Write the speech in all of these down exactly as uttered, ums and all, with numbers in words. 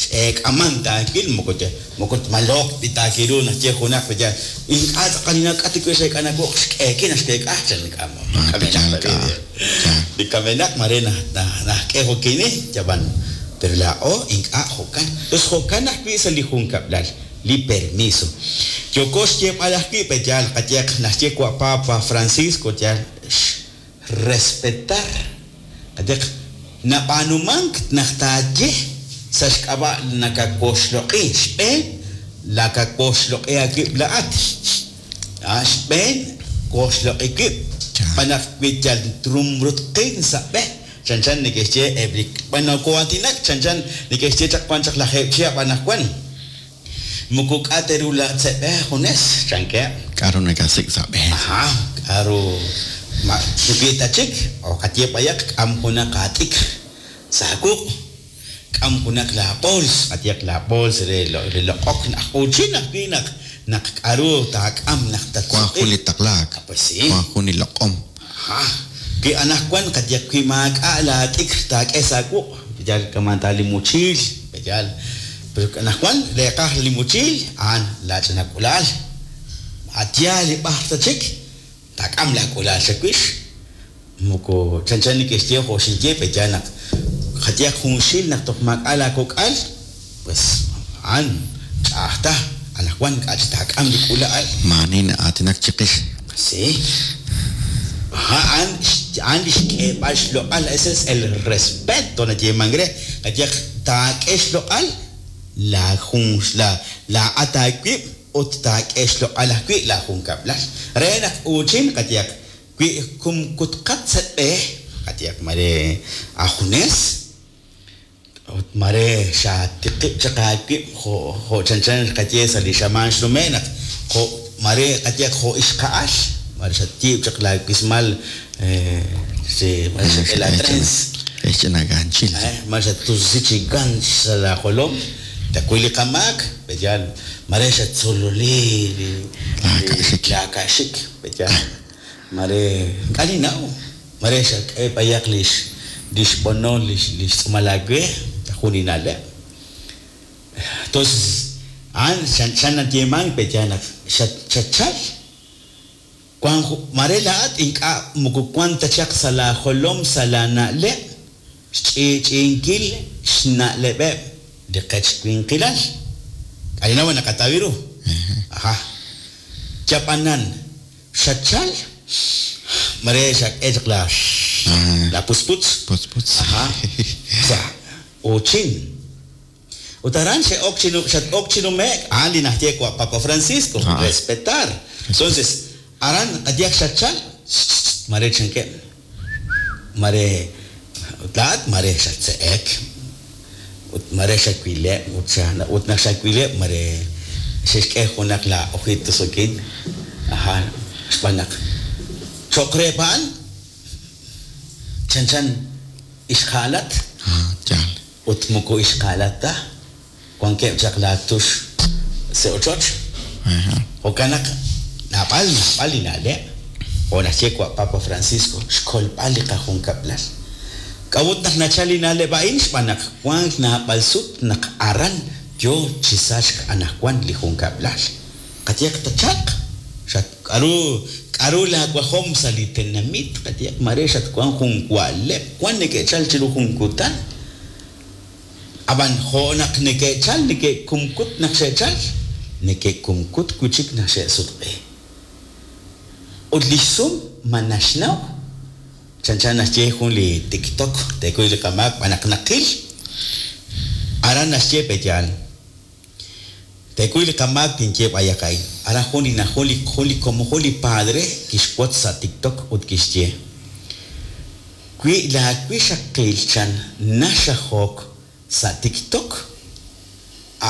X'eek'aman taawil moko moko tmaloq b'itaakiru naxye junaq yal ink'a' tz'aqal ninak'at wi xeek'a nawuq xk'eeki naxkeek'a chan li kamenaq mare najk'e jokini yab'an pero laa'o ink'a' jo'kan. Entonces jo'kan ajwi' sa' li junkab'lal li permiso. Yoko xyeeb'al ajwi' pe yaal qayehaq naxye wa' Papa Francisco yaal respetar qayehaq nab'aanumank naq taaye sa' xk'ab'a' nakawoxloq'i xb'een lakawoxloq'i aawib' laa'at xb'een woxloq'i wib' xb'aan wi yal trumrutqin sa' b'e chanchan neke'xye eb' li b'anoko'aatinak chanchan neke'xye chaq wan chaq lajeeb' chihab' anaqwan moko k'a' teru laatzeb'e junes chankeb' k'aru nakasik' sa' b'e ajá k'aru ma wi ta chik o qaye b'ayaq k'am junaq aatikr sa' wuq' k'am junaq laa bools qayehaq laa bools re re loq'ok naj uuchin ajwi' naq naq k'aru taak'am naq wan jun li taqlaak pues sí wan jun li loq'om ajá wi anaqwan qayehaq wi maak'a' laatikr taak'e sa' wuq' yal kaman ta li mochiil yal pero anaqwan reeqaj li mochiil a'an laach'ina k'ulaal atyaal li b'ar ta chik taak'am laak'ulaal chawix moko chanchan neke'xye jo' xinye pe yaal naq qayehaq junxil naq toj maak'a' laakok'al pues a'an ch'a'aj ta anaqwan k'a' chi taak'am li k'ula'al maani na'aatinak chiqix sí ajá a'an a'an li xk'eeb'al xloq'al ese es el respeto nayeeman re qayehaq taak'e xloq'al la jun la laa'at aawib' ut taak'e xloq'al ajwi' laajunkab'lal re naq uuchin qayehaq wi kumkutqat sa' b'e qayehaq mare ajunes ut mare xaatiqib' chaq aawib' jo' jo' chanchan qaye sa' li xamaan xnume' naq jo' mare qayehaq jo' ixqa'al mare xatyiib' chaq laawismal si mare xak'e la trens xch'ina ganchil mare xatusi chi ganch sa' laajolom takuy li qamaak pe yaal mare xatzololi li Laaka'xik. laaka'xik pe yaal mare k'a' ninnaw mare xak'e b'ayaq lix lix b'onol lix lix tz'uumal aawe jun li na'leb' entonces a'an xan nayeeman pe yaal naq xat xatchal wan mare laa'at ink'a' moko wan ta chaq sa' laajolom sa' laana'leb' xch'i'ch'i'inkil xna'leb'eb' li qech winqilal k'a' ninnaw naqataw ru ajá yab'anan xatchal mare xak'e chaq la la pusputz putzputz ajá sa' uuchin ut aran xe'ok chi xat-ok chi nume'k a'an li naxye wa' Papa Francisco Ah. respetar entonces aran qayehaq xatchal mare chankeb' mare ut laa'at mare xatse'ek ut mare xawileb' ut xa ut naq xawileb' mare xe'xk'e junaq la ojitos okin ajá xb'aan naq cho'q reheb' a'an chanchan ixqa'alat ah yaal ut moko ixqa'alat ta wankeb' chaq laatux sa' ochoch ajá jo'kan naq naab'al naab'al li na'leb' jo' naxye wa' Papa Francisco xkolb'al li qajunkab'lal k'a'ut naq nachal li na'leb' a'in xb'aan naq wank naab'al sut naq aran yo chi sachk anaqwan li junkab'lal qayehaq tachalq xat k'aru k'aru laawajom sa' li tenamit qayehaq mare xatwan jun wa'leb' wan neke'chal chiru jun kutan ab'an jo' naq neke'chal neke'kumkut naq xe'chal neke'kumkut wi' chik naq xe'sutq'i ut li xsum ma naxnaw chanchan naxye jun li TikTok tekuy li qamaak b'an naq naqil aran naxye pe yaal tekuy li qamaak tinye b'ayaq a'in aran jun li jun li jun li como jun li padre kixwotz sa' TikTok ut kixye wi laawixaqil chan naxajok sa' TikTok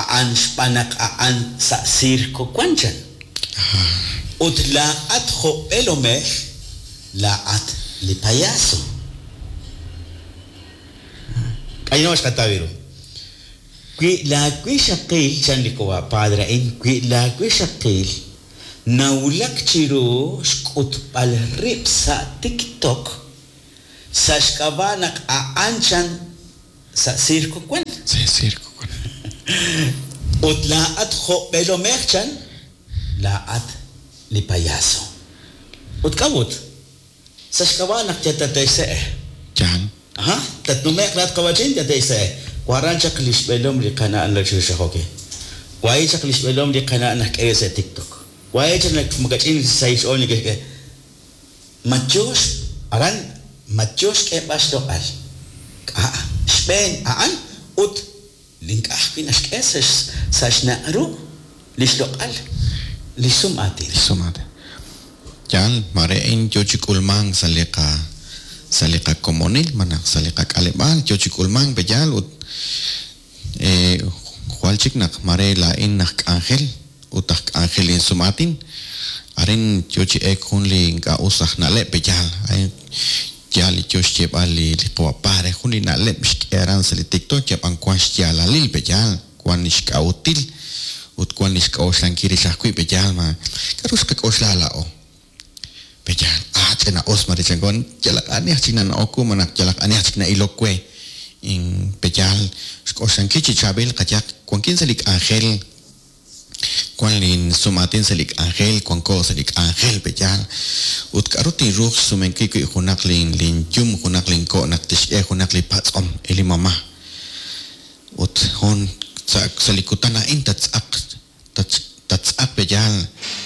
a'an xb'aan naq a'an sa' circo wan chan ut laa'at jo' b'eelomej laa'at li payaso k'ayno xqataw ru wi laawixaqil chan li wa padre a'in wi laawixaqil nawulak chiru xk'utb'al rib' sa' TikTok sa' xk'ab'a' naq a'an chan sa' circo wan sa' circo Ut laa'at jo' b'eelomej chan, laa'at li payaso. Ut k'a'ut? Sa' xk'ab'a' naq yatate'xse'e. Yaal. Aha, tatnume'q laat qawachin yate'xse'e. Waran chaq li xb'eelom li qana' lachixajoki. Wahi chaq li xb'eelom li qana' naj k'e sa' TikTok. Wahi chaq naq makach'in sa' xch'ool neke'xk'e. Ma yo aran ma yo xk'eeb'al xloq'al. K'a' xb'een a'an ut ink'a' ajwi' naxk'e sa' sa' xnaq' ru li xloq'al li sum aatin. Li sum aatin. Yaal, mare a'in yo chi k'ulmank sa' li qa sa' li qakomonil malaj sa' li qak'aleb'aal yo chi k'ulmank peyaal ut eh, jwal chik naq mare laa'in aj k'anjel ut aj k'anjel insum aatin arin yo chi eek jun li ink'a' us aj na'leb' peyaal a'in yaal li yo xyeeb'al li li qawapare jun li na'leb' xk'e aran sa' li TikTok yab'an wan xyaalalil peyaal wan li xk'a'util ut wan li xk'a'uxlankil rix ajwi' peyaal ma k'a'ru xqak'oxla laa'o peyaal ah ch'ina us mare chankon yalaq ani aj chik nana'ok ku malaj yalaq ani aj chik na'ilok we in peyaal xk'oxlankil chi chaab'il qayaq wankin sa' li k'anjel wan lin sum aatin sa' li k'anjel wanko sa' li k'anjel peyaal ut k'a'ru tinruuq xsumenkil wi' junaq lin lin yum junaq lin ko' naq tixk'e junaq li patz'om e li mamá ut jun sa' sa' li kutan a'in tatz'aq tatz'aq peyaal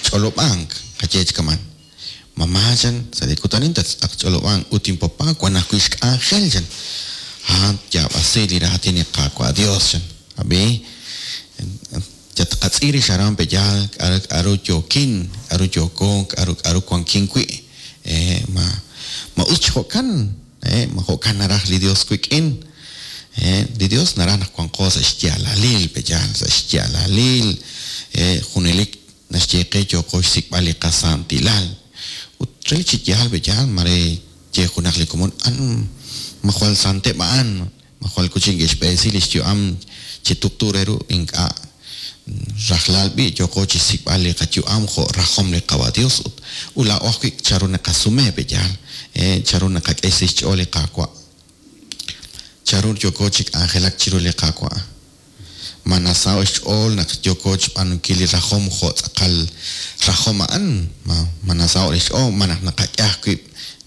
ch'olob'ank qaye chi kaman mamá chan sa' li kutan a'in tatz'aq ch'olob'ank ut inpapá wan ajwi' xk'anjel chan a'an yaab'asi li raatin li Qaawa' Dios chan ab'i yatqatz'i rix aran peyaal k'a'ru k'a'ru yookin k'a'ru yooko k'a'ru k'a'ru wankin wi' eh, ma ma us chi jo'kan eh, ma jo'kan naraj li Dios wik'in eh, li Dios naraj naq wanqo sa' xyaalalil peyaal sa' xyaalalil eh, junelik naxye qe yooko xsik'b'al li qasantilal ut re chi yaal peyaal mare ye junaq li komon an ma jwal santeb' a'an ma jwal kuchin ke'xb'eesi li xyu'am chi tuqtu re ru ink'a' rajlal b'i yooko chi xsik'b'al li qayu'am jo' rajom li Qawa' Dios ut ut laa'o ajwi' charu naqasume peyaal eh, charu naqak'e sa' xch'ool li Qaawa' charu yooko chi k'anjelak chiru li Qaawa' ma nasaho' xch'ool naq yooko xb'aanunkil li rajom jo' tz'aqal rajom a'an ma ma nasaho' li xch'ool ma naq naqak'e ajwi'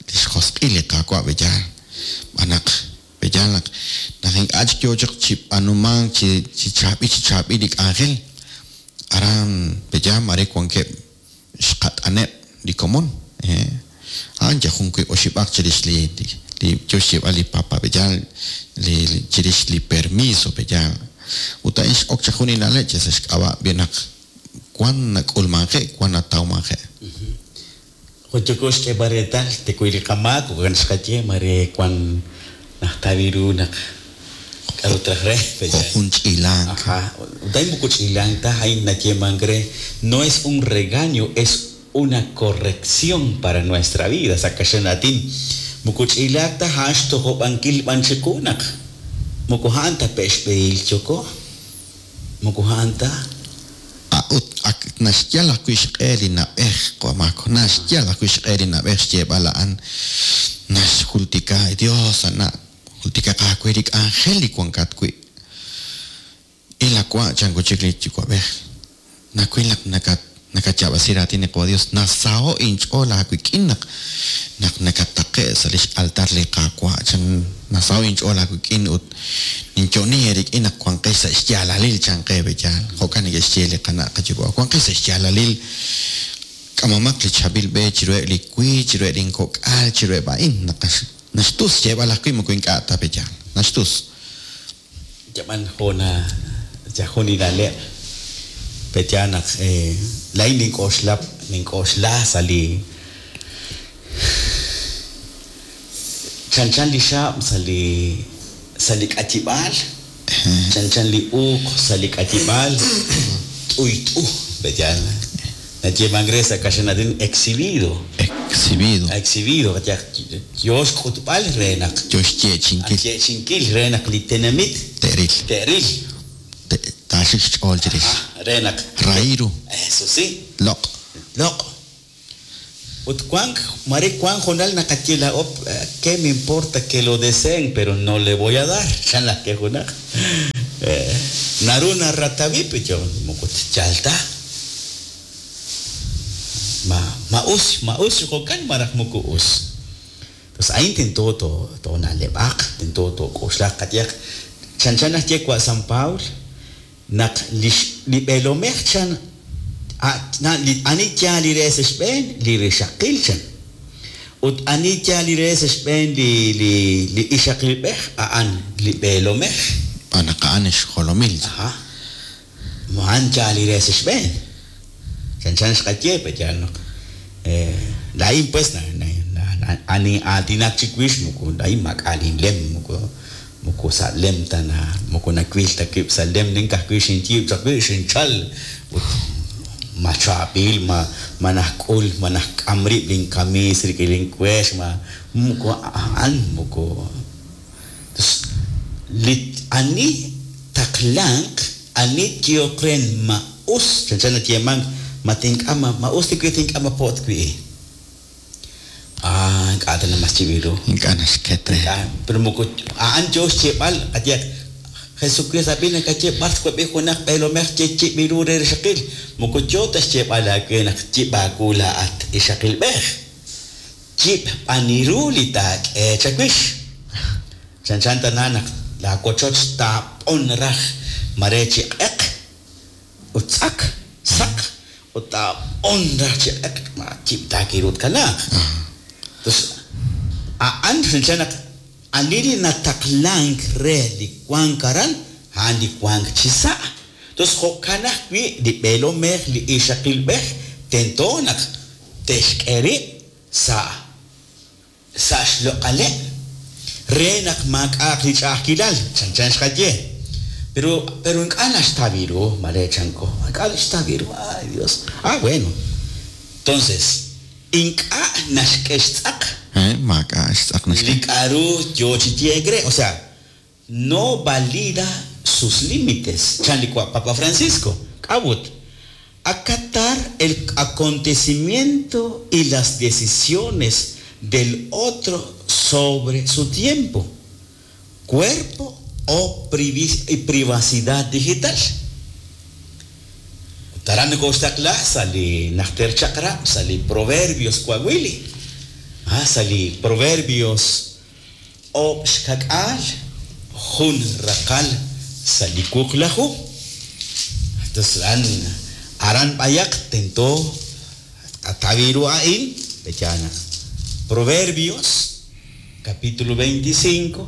li xjosq'il li Qaawa' peyaal b'anaq peyaal naq naq ink'a' chik yo chaq chi b'aanumank chi chi chaab'il chi chaab'il li k'anjel aran peyaal mare wankeb' xqat'aneb' li komon eh a'an yal jun wiib' oxib'aq chirix li li yo xyeeb'al li papa peyaal li chirix li permiso peyaal ut a'in x'ok chaq jun li na'leb' che sa' xk'ab'a' b'i naq wan nak'ulmanje' wan natawmanje'. Jun xk'eeb'al reetal tekuy li qamaak ukan xqaye mare wan najtawi ru naq k'a'ru traj re Jo' jun ch'ilank. Ajá, ut a'in moko ch'ilank ta a'in nayeemank re no es un regaño, es una corrección para nuestra vida sa' kaxlan aatin moko ch'ilaak ta a'an xtojob'ankil b'an chiqu naq moko a'an ta pe' xb'ehil yoko moko a'an ta Ah, ut ak naxyal ajwi' xq'e li na'b'ej q'omak naxyal ajwi' xq'e li na'b'ej xyeeb'al a'an naxjultika Dios ana' jultika qaawe li k'anjel li wankat wi' ilawa' chan kuchik li yuwa'b'ej nawil naq nakat nakatyaab'asi raatin li Qawa' Dios nasaho' inch'ool aawik'in naq naq nakataqe' sa' lix altar li Qaawa' chan nasaho' inch'ool aawik'in ut ninyo'ni eerik'in naq wanqex sa' xyaalalil chan qe beyaal jo'kan neke'xye li qana' qayuwa' wanqex sa' xyaalalil k'amomaq li chaab'il b'e chiruheb' li wiib' chiruheb' linkok'al chiruheb' a'in naq naxtus xyeeb'al ajwi' moko ink'a' ta beyaal naxtus yab'an jona yajun li na'leb' peyaal naq eh, laa'in nink'oxla nink'oxla sa' li chanchan li xaab' sa' li sa' li k'atib'aal chanchan li uuq sa' li k'atib'aal t'uyt'u peyaal nayeemank re sa' kaxlan aatin exhibido exhibido exhibido yo xk'utb'al re naq yo xyeechinkil yeechinkil re naq li tenamit te'ril te'ril taaxik xch'ool chirix re naq rahiru eso sí loq' loq' ut wank mare wank jonal naqaye laa'o qué me importa que lo deseen pero no le voy a dar chan laj ke junaq Naru naratawi pecho moko tchalta. Ma ma us ma us jo'kan maraj moko us. Entonces ain tento to tona'leb'aq, tento tok'oxlaq qayehaq chanchan naxye wa San Paul naq lix li b'eelomej chan a li ani yaal li re sa' xb'een li rixaqil chan ut ani yaal li re sa' xb'een li li li ixaqilb'ej a'an li b'eelomej. Naq a'an xjolomil. Ajá. A'an yaal li re sa' xb'een. Chanchan xqaye pe yaal naq laa'in pues na na ani aatinak chiwix moko laa'in maak'a' linlem moko moko sa' lem ta na moko nawil ta wib' sa' lem nin ka'ajwi' xinyiib' chaq wi' xinchal ut ma chaab'il ma ma najk'ul ma najk'am rib' linkamiis rik'in linkueex ma moko a'an moko li ani taqlanq ani tyoq ren ma us chanchan nayeemank ma tink'am ma us li wi' tink'am ma po't wi'. Ah, ink'a' ta mas chib'iru. Ink'a' naxket re. Pero moko a'an yo xyeeb'al qayehaq Jesucristo ab'i nakaye b'ar twab'i junaq b'eelomej ye chib'iru re rixaqil moko yo ta xyeeb'al aawe naq yib'aawu laa'at ixaqilb'ej. Yib' b'aniru li taak'e chawix. Chanchan tana naq laawochoch taapon raj mare chi q'eq ut tz'ak saq ut taapon raj chi q'eq ma yib' taakirut kanaaq. Entonces, a'an chanchan naq ani li nataqlank re li wank aran a'an li wank chi sa'. Entonces, jo'kan ajwi' li b'eelomej li ixaqilb'ej tento naq te'xk'e rib' sa' sa' xloq'aleb' re naq maak'a'aq li ch'a'ajkilal chanchan xqaye. Pero pero ink'a' naxtawiru mare chanko ink'a' naxtawiru ay Dios. Ah, bueno. Entonces, ink'a' naxk'e xtz'aq. Eh, maak'a' xtz'aq naxk'e. Li k'a'ru yo chi yeek re, o sea, no valida sus límites. Chan li Papa Francisco. K'awut. Acatar el acontecimiento y las decisiones del otro sobre su tiempo, cuerpo o privacidad digital. Taran ko sa li najter chakra, sa li Proverbios Coahuili. Ah, sa li Proverbios o xkak'al jun raqal sa li kuqlaju. Entonces aran aran bayak tento ataviru ain bechana. Proverbios capítulo veinticinco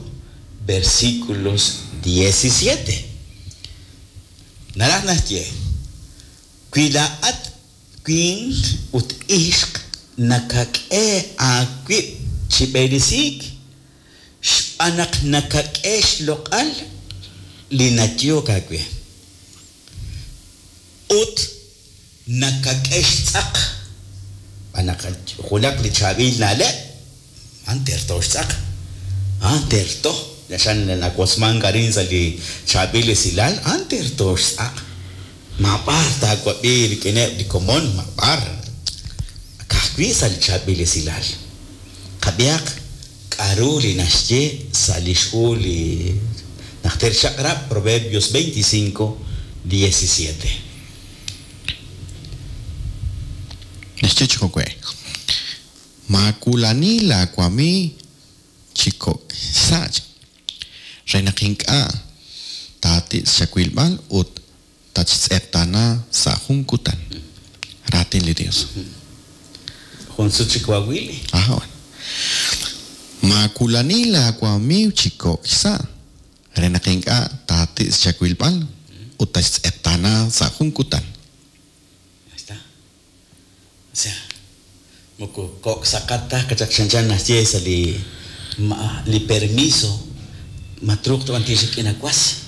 versículos diecisiete. Naraj naxye Cuidaat quin ut ixq nakak'e aawib' chi b'eresik xb'aan naq nakak'e xloq'al li nayok aawe ut nakak'e xtz'aq b'aan naq junaq li chaab'il na'leb' a'an terto xtz'aq a'an terto xan nawosmank arin sa' li chaab'il esilal a'an terto xtz'aq. Mab'ar taawab'i rik'ineb' li komon mab'ar ka'ajwi' sa' li chaab'il esilal. Qab'ihaq k'a'ru li naxye sa' li xhu li najter chaq'rab' Proverbios veinticinco diecisiete. Naxye chi jo'we. Maakulani laawami chi kok' sach re naq ink'a' taati' xawilb'al ut tachtz'eqtana sa' jun kutan. Raatin li Dios. Jun sut chi Coahuili. Ajá. Maakulani laawamiiw chi kok' sa' re naq ink'a' taati' xawilb'al ut tachtz'eqtana sa' jun kutan. Ahí está. O sea, moko kok' saqat ta kachak chanchan naxye sa' li ma, li permiso matruq to'an tixik'in awas.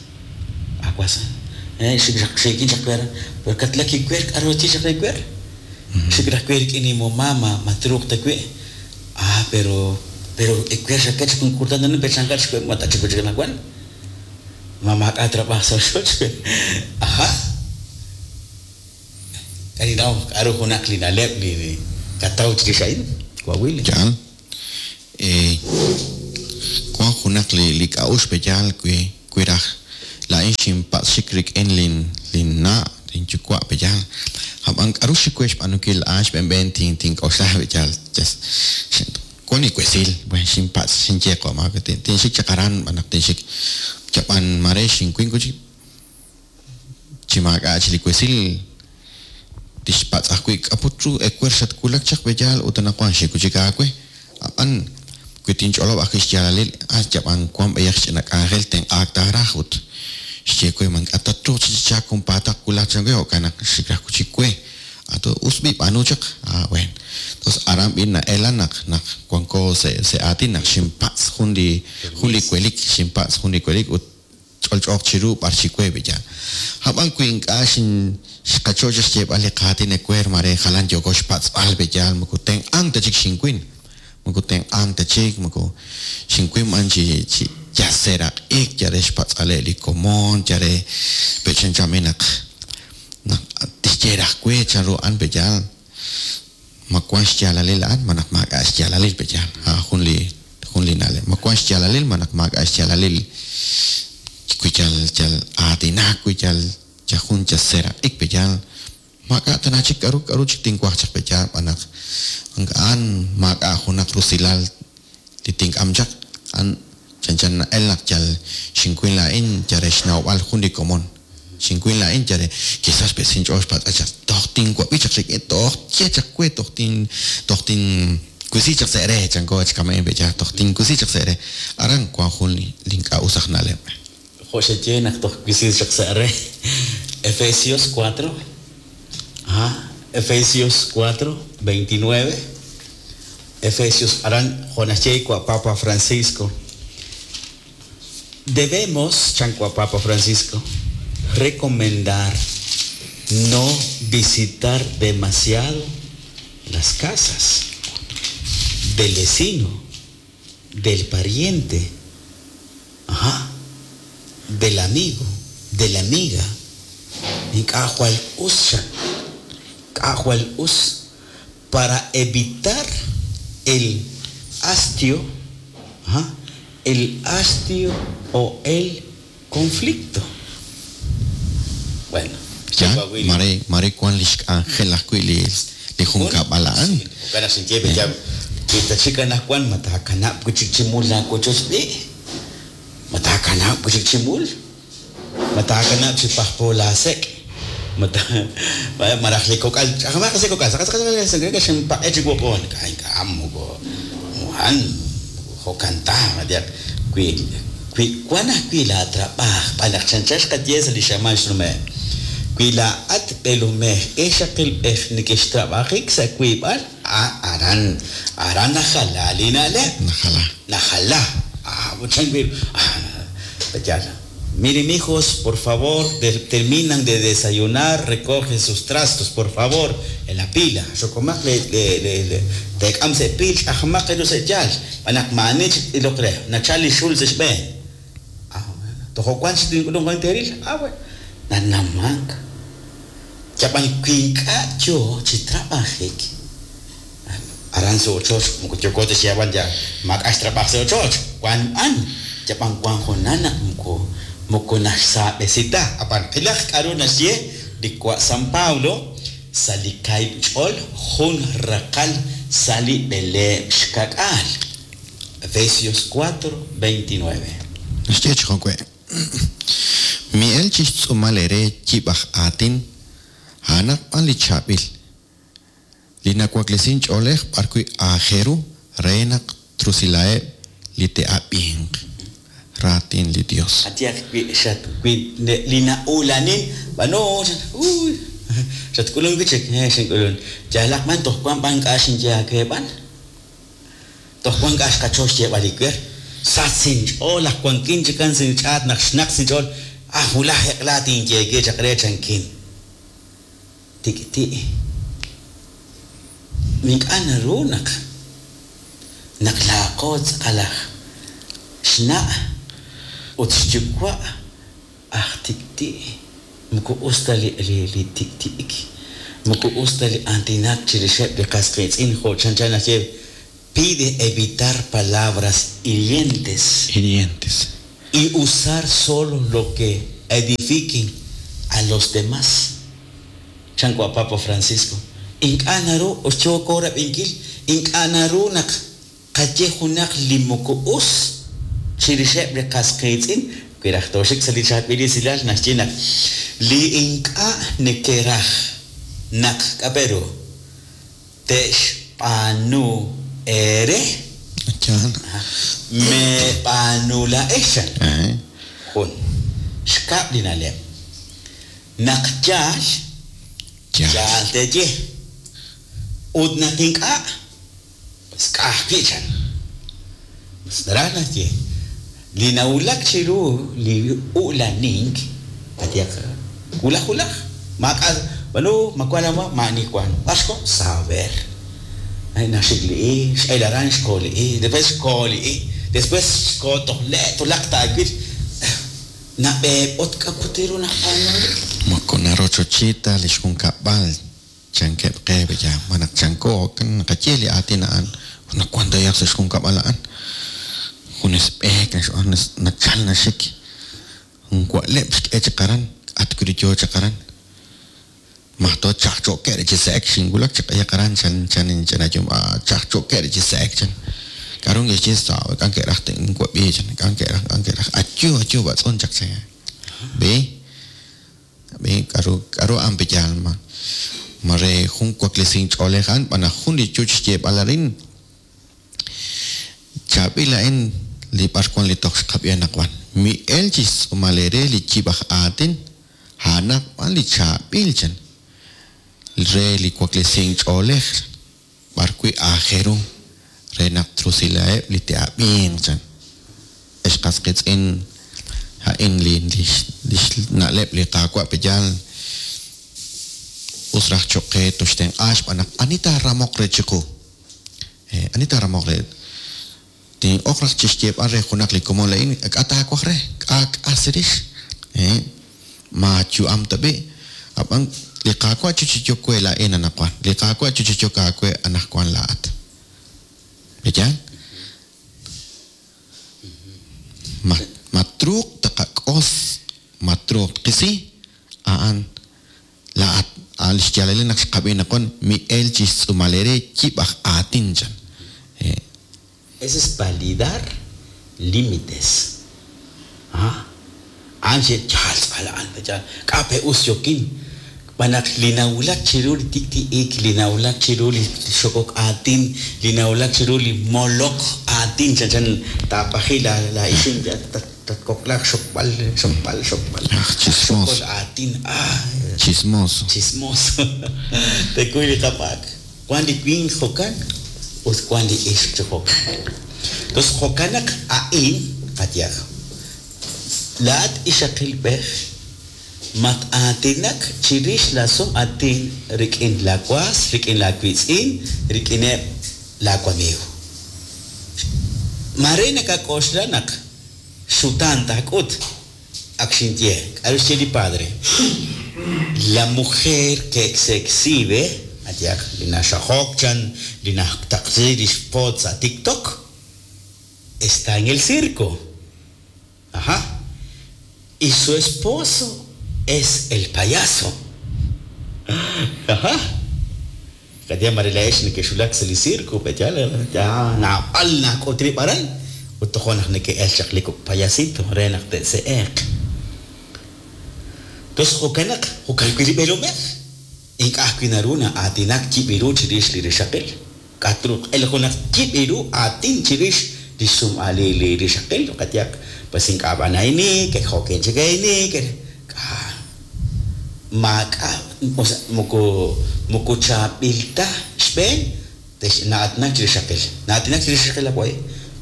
Awas. Eh, xikin chakwer, pero katlaki kwer, k'aru chi chakwer. Xikrakwer k'ini mo mama matruq ta kwe. Ah, pero pero ekwer xakach kun kurtan nan pe chankach kwe mata chikwe chikna kwan. Mama ka trabajo sa xoch. Aha. Kaninaw k'aru junaq li na'leb' li kataw chirix Coahuila. Yaal. Eh, wan junaq li li k'a'uxl pe yaal kwi kwiraj Laa'in xinpatz' xik rik'in lin lin na' lin yuwa' pe'yaal. Ab'an k'aru xik we xb'aanunkil a'an xb'eenb'een tin tink'oxla pe'yaal. Wan li wesil, bueno, xinpatz' xinye qo' tinxik chaq aran b'an naq tinxik yab'an mare xinkuin kuchik chi maak'a' chi li wesil tixpatz' ajwi' k'aput ru ewer xatwulak chaq pe'yaal ut anaqwan xikuchik aawe. Ab'an wi tinch'olob' ajwi' xyaalalil ah yab'an wan b'ayaq ch'ina k'anjel tenq'aak taaraj ut xye we man k'atat ruuq chi chaak junpaataq wulaj chan we jo'kan naq xik raj kuchik we. Ato us b'i b'aanu chaq. Ah, bueno. Entonces aran b'i na'ela naq naq wanko se se aatin naq xinpatz' jun li jun li welik xinpatz' jun li welik ut ch'olch'ooq chiru b'ar xik we pe'yaal. Ab'an wi ink'a' xin xqacho xyeeb'al li qaatin ewer mare jalan yooko xpatz'b'al pe'yaal moko tenq'ank ta chik xinkuin. Moko tenq'ank ta chik moko xinkuin b'an chi chi yaseraq'ik yare xpatz'ale li komon yare pechanchami naq naq tixye raj we chanru an pe'yaal ma wan xyaalalil a'an ma naq maak'a' xyaalalil pe'yaal. Ha jun li jun li na'leb' ma wan xyaalalil ma naq maak'a' xyaalalil wi yal yal aatinak wi yal yal jun yaseraq'ik pe'yaal maak'a' tana chik k'aru k'aru chik tinwaj chaq pe'yaal b'an naq a'an maak'a' junaq rusilal li tink'am chaq an chanchan na'el naq yal xinkuin laa'in yare xnawb'al jun li komon xinkuin laa'in yare quizás pe sinch'ool xpatz'a chaq toj tinwab'i chaq rik'in toj ye chaq we toj tin toj tin kuisi chaq se're chanko chkama'in pe'yaal toj tinkuisi chaq se're aran wan jun li ink'a' us aj na'leb'. Jo' xaye naq toj kuisi chaq se're. Efesios cuatro. Ajá. Efesios cuatro, veintinueve. Efesios, aran jo' naxye wa Papa Francisco. Debemos, chan wa Papa Francisco, recomendar no visitar demasiado las casas del vecino, del pariente, ajá, del amigo, de la amiga. Ink'a' jwal us ink'a' jwal us para evitar el hastio, ajá, el hastio o el conflicto. Bueno, Ya, mare mare wan li xk'anjel ajwi' li li junkab'al a'an. Jo'kan xinye ya kitachik anaqwan matakanab' wichik chimul laawochoch b'i'. Matakanab' wichik chimul. Matakanab' chi pajpo laasek'. Mata maraj li kok'al ch'ajmaq se kok'al saqa saqa saqa xinpaq'e chik woq'on k'a ink'a' moko muhan jo'kan ta wi wi wan ajwi' laatrab'aaj b'an naq chanchan xqaye sa' li xamaan xnume' wi laa'at b'eelomej ixaqilb'ej nekextrab'ajik sa' wiib'al aran aran najala li na'leb' Najala. Najala. Ah, chan wi ah, Miren, hijos, por favor, de, terminan de desayunar, recogen sus trastos, por favor, en la pila. Xokomaq le le le le tek'am se pil, ch'ajmaq elu se yal. B'anaq ma'anich ilok re, nachal li xul sa xb'een. Ah, tojo wan chi tink'ulun wan teril. Ah, bueno. Nanamank. Yab'an wi ink'a' yo chi trab'ajik. Aran sa ochoch, moko yoko ta xyab'an ya maak'a' xtrab'aj sa ochoch. Wan b'an, yab'an wan junan naq moko moko naxsaab'esita. Apan qilaj k'aru naxye li wa San Pablo sa' li kaib' ch'ol jun raqal sa' li b'eleeb' xkak'aal. Efesios cuatro, veintinueve. Naxye chi jo'we. Mi'el chi xtz'uumal ere yib' aj aatin a'anaq b'an li chaab'il. Li nawaklesin ch'oolej b'arwi' aajeru re naq trusilaheb' li te'ab'inq. Raatin li Dios. Atiak wi xat wi li na'ulanin b'ano uy xatk'ulun wichik eh xink'ulun yalaq man toj wan b'an k'a xinye aawe b'an toj wan k'a xqacho xyeeb'al li wer sat sinch'ool aj wankin chikan sinch'aat naq xnaq sinch'ool ah wulaj eq'la tinyeeke chaq re chankin tik'ti' ink'a' naru naq naq laaqo tz'aqal aj xna' ut xyuwa' aj tik'ti' moko us ta li li li tik'ti'ik moko us ta li aatinak chirixeb' li qas qiitz'in jo' chanchan naxye pide evitar palabras hirientes Hirientes. y usar solo lo que edifiquen a los demás. Chan wa Papa Francisco. Ink'a' naru oxyooko rab'inkil, ink'a' naru naq qaye junaq li moko us chirixeb' li qas qiitz'in, wi raj tooxik sa' li chaab'il esilal naxye naq li ink'a' nekeraj naq k'aperu te'xb'aanu eere Chan. meeb'aanu laa'ex chan. Eh. Jun. Xkab' li na'leb'. Naq yaal, Yaal. yaal teeye. Ut naq ink'a', pues k'ajwi' chan. Pues naraj naxye, li nawulak chiru li u'lanink, qayehaq wulaj wulaj, maak'a' b'anu makuan ma maani wan, b'ar xko saber. Ay, naxik li i, x'el aran xko li i, después xko li i, después xko toj le' tulaq taawil. Nab'eeb'ot k'akutiru nab'aanu. Moko narochochita li xjunkab'al chankeb' qe ya manaq chanko kan naqaye li aatin a'an nawan tayaq sa' xjunkab'al a'an junes b'eek naxb'aan nachal naxik jun wa'leb' xk'e chaqaran atkuri yoo chaqaran mahto chaqcho'ke' chi se'ek xinwulak chaq'ayaqaran chan chan chanayum a chaqcho'ke' chi se'ek chan k'arun kixye sa' k'an ke'raj tinwab'i chan k'an ke'raj k'an ke'raj ayu ayu b'atz'un chaq chan bi bi k'aru k'aru an piyal ma mare jun waklesin ch'oolej an b'ana jun li chuch xyeeb'al arin chaab'il a'in li b'arwan li toj xqab'i anaqwan mi'el chi xtz'uumal ere li yib' aj aatin a'anaq b'an li chaab'il chan re li waklesin ch'oolej b'arwi' aajeru re naq trusilaeb' li te'ab'inq chan ex qas qiitz'in a'in li li xna'leb' li qaawa' piyal us raj choq' qe toxtenq'a xb'aan naq ani taaramoq re chiqu eh ani taaramoq re tin'oq raj chixyeeb'al re junaq li komon la'in k'a taawaj re k'a k'asirix eh ma yu'am tab'i ab'an li qaawa' chuchichok we la'in anaqwan li qaawa' chuchichok aawe anaqwan la'at ¿Ya? Ma matruq taqak'os matruq qisi a'an la'at al xyalele naq xqab'i naqwan mi'el chixtz'uumal ere yib' aj aatin chan. Eh. Ese es validar límites. Ah, anche chal ala an chal k'ape us yokin Banak linawulak chiru li tikti'ik, linawulak chiru li xokok aatin, linawulak chiru li molok aatin, chan chan tapaji la la ixim tatkoklak xokb'al xokb'al xokb'al. Ah, chismoso. Xokol aatin, ah. Chismoso. Chismoso. Tekuy li qapak. Wan li winq jokan, ut wan li ixq jokan. Entonces jokanak a'in qatyaj. Laat ixaqilb'ej mat aatinak chirix la sum atin rik'in la was, rik'in la witz'in, rik'ineb' la wamiiw. Mare nakak'oxla naq xutan tak'ut ak xinye, k'aru xye li padre. La mujer que se exhibe, atyaq li naxajok chan, li naxtaqsi li xpot sa TikTok, está en el circo. Ajá. Y su esposo es el payaso. Ajá. Katia marilaex nekexulak sa li circo, petyal, ya naab'al nak'utrib' aran, ut tojo naq neke'el chaq li kok' payasito re naq te'se'eq. Entonces jo'kan naq jo'kan wi' li b'eelomej. Ink'a' ajwi' naru na'aatinak yib' chirix li rixaqil. K'atruq el junaq yib' ru aatin chirix li xsum'al li rixaqil, qatyaq, pues ink'a' b'anayni, ke jo'kin chikayni, ke maak'a, o sea, moko moko chaab'il ta xb'een tex na'aatinak chirix rixaqil. Na'aatinak chirix rixaqil away,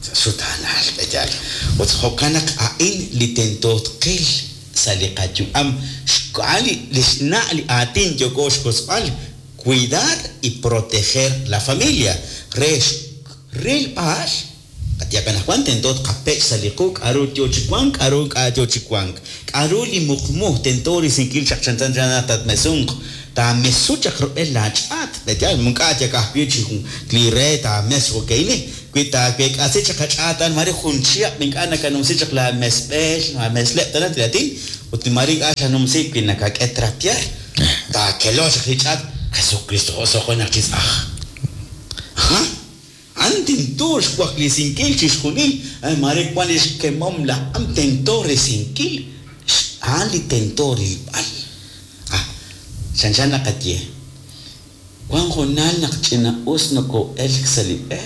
xutanal petyal. Ut jo'kan naq a'in li tento tqil sa' li qayu'am xk'al li xna' li aatin yooko xk'osb'al cuidar y proteger la familia re rilb'al qatyaq anaqwan tento tqapech' sa' li qu k'aru yoo chi wank k'aru ink'a' yoo chi wank k'aru li muqmu tento risinkil chaq chanchan chan tatmesunq taamesu chaq rub'el laach'aat petyal munk'a' yak ajwi' chi jun li re taames okayni wi taawek'asi chaq ach'aat an mare jun chihab' ink'a' nakanumsi chaq la mesb'el la mesleb' tana tiratin Ut mare ink'a' xanumsi wi nakak'e trapear, taakelo chaq li ch'aat, Jesucristo osoqenaq chi tz'aj. Ha? A'an tento xwaklisinkil chixjunil, mare wan li xkemom laj am tento risinkil, a'an li tento rilb'al. Ah, chanchan naqaye. Wan junal naq ch'ina-us noko'elk sa' li b'e,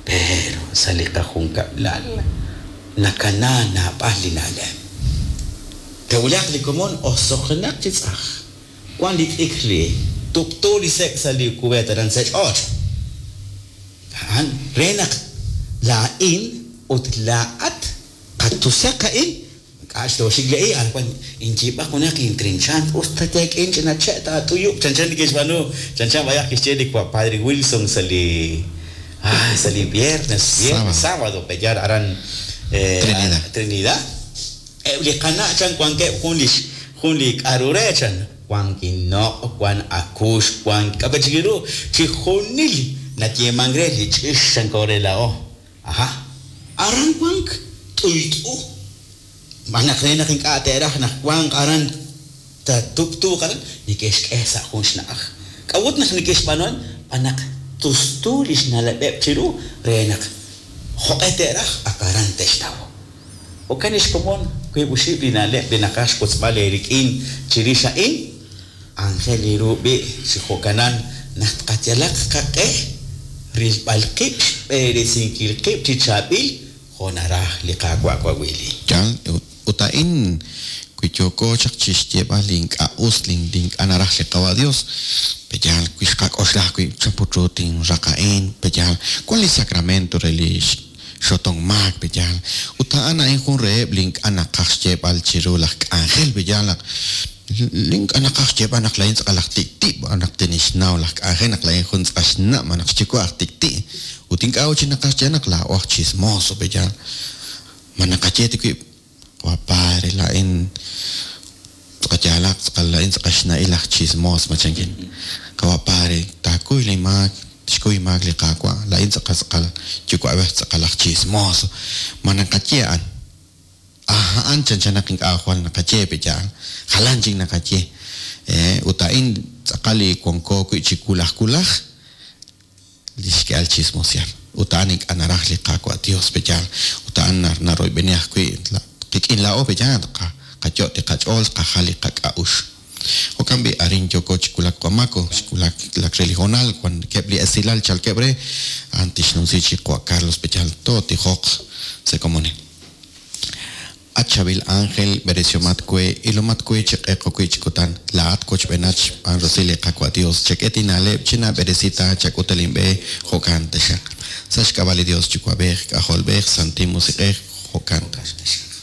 pero sa' li qajunkab'lal nakana naab'al li na'leb'. Tewulaq li komon osoqenaq chi tz'aj. Wan li t'ikr li tub'tu li sek' sa' li cubeta aran sa' ch'och'. A'an re naq laa'in ut laa'at qatusaq a'in, k'a'x toxik le'i, wan inyiib'aq junaq intrinchant, us ta teek'in ch'ina che' taat'uyub', chanchan li kixb'aanu, chanchan b'ayaq kixye li Padre Wilson sa' li ah, sa' li viernes, viernes, sábado, peyar aran eh, Trinidad. Trinidad. Eb' li qana' chan wankeb' jun li jun li k'aru re chan, wan kinoq', wan akux, wan k'ape chik ru, chi junil nayeeman re li ch'ix chan ko re la'o. Aha. Aran wank t'uyt'u. Manaq re naq ink'a' te'raj naq wanq aran tatub'tuuq aran, neke'xk'e sa' jun xna'aj. K'a'ut naq neke'xb'aanu b'anaq tustu li xna'leb'eb' chiru re naq jo'q'e te'raj ak aran te'xtaw. Jo'kan ixkomon wiib' oxib' li na'leb' li naqaj xwotzb'al eerik'in chirix a'in, Ángel Irubi chi jo'kanan naq tqayalaq qaq'e rilb'al qib' xb'eresinkil qib' chi chaab'il jo' naraj li Qaawa' wawili. Yal, ut a'in wi yooko chaq chixyeeb'al li ink'a' us, li ink'a' naraj li Qawa' Dios, peyal wi xqak'oxla wi chan put ru tinraq a'in, peyal wan li sacramento re li xotong maak, peyal ut a'an a'in jun reheb' li ink'a' naqaj xyeeb'al chiru laj k'anjel, peyal naq li ink'a' naqaj xyeeb'al naq la'in tz'aqal aj tik'ti', naq tinixnaw laj k'anjel naq la'in jun tz'aqal xnab', naq xyuwa' aj tik'ti', ut ink'a' chi naqaj xye naq laa'o aj chismoso, peyal ma naqaye ti wib' wa padre la'in tz'aqal tz'aqal la'in tz'aqal xna'il aj chismos machankin. Qawa padre taakuy li maak, xkuy maak li Qaawa', la'in tz'aqal tz'aqal yuwa'b'ej tz'aqal aj chismoso. Ma naqaye a'an. Ah, a'an chanchan naq ink'a' jwal naqaye peyal, jalan chik naqaye. Eh, ut a'in tz'aqal li wanko wi' chi kulaj kulaj, li xk'ehal chismosial. Ut a'an ink'a' naraj li Qaawa' Dios peyal, ut a'an naroyb'eni ajwi' qik'in la'o peyal, qayo' li qach'ool, qajal li qak'a'ux. Jo'kan b'i arin yoko chi kulak Qamako, chi kulak lak re li honal, wan keb' li esilal chalkeb' re, a'an tixnumsi chi Juan Carlos peyal, to tijoq se komone. At chavil ángel, beresiomat kwe, ilomat kwe chiq'eqo kwi chikutan, laat kochb'enach b'an rosili Qaawa' Dios, chek'et ina'leb' china beresita chak'utelinb'e jo'kan taxaq. Sa' xk'ab'a' li Dios Yuwa'b'ej, K'ajolb'ej, Santil Musiq'ej, jo'kan taxaq.